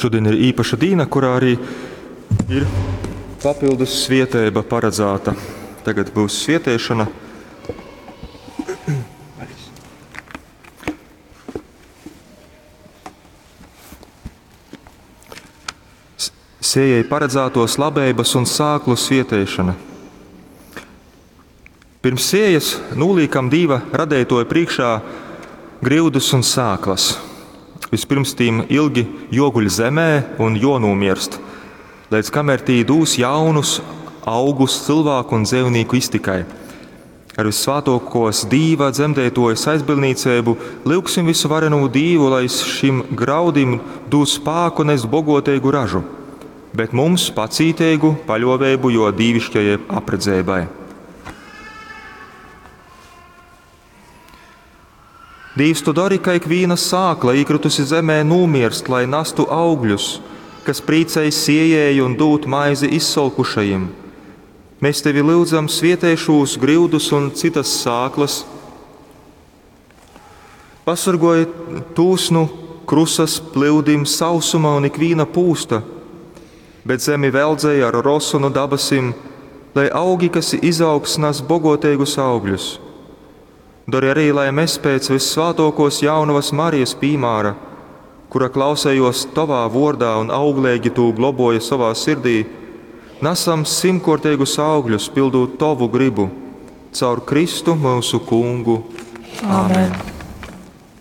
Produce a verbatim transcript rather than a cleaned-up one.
Šodien ir īpaša dīna, kurā arī ir papildus svieteiba paredzēta. Tagad būs svieteišana. Sējai paredzētos labeibas un sāklu svieteišana. Pirms sējas nūliekam Dīva radētoja priekšā griudus un sāklas. Vispirms tīm ilgi joguļ zemē un jonūmierst, līdz kamēr tī dūs jaunus augus cilvēku un dzīvnieku iztikai. Ar vissvātākos Dīva dzemdētojas aizbildniecību lyugsim visu varenū Dīvu, lai šim graudim dūs spāku nest bogotīgu ražu, bet mums pacītīgu paļovēbu, jo dīvišķajai apredzēbai. Dīvs, tu dari, ka ikviena sākla īkritusi zemē nomierst, lai nastu augļus, kas prīcēj siejēju un dūt maizi izsolkušajiem. Mēs tevi lūdzam, svietē šos grīdus un citas sāklas. Pasargoj tūs nu krusas plūdim, sausuma un ikviena pūsta, bet zemi veldzēja ar rosu no dabasim, lai augi, kas izaugs, nes bogotīgus augļus. Dari arī, lai mēs pēc vissvātākos jaunavas Marijas pīmāra, kura klausējos tavā vordā un auglīgi tū globoja savā sirdī, nesam simtkortīgus augļus, pildot tavu gribu, caur Kristu mūsu kungu. Āmen.